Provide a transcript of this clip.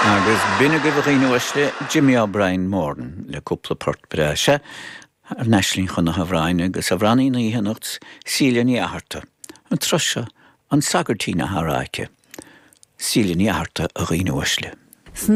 Agus b'in agaibh a dhaoine uaisle, Jimmy O'Brien Moran le cúpla port breá. Sea, thar n-ais linn chun na hamhráin agus amhránaí na hoíche anocht, Síle Ní Fhatharta. An turas seo, An Sagairtín á rá aici. Síle Ní Fhatharta, a dhaoine uaisle.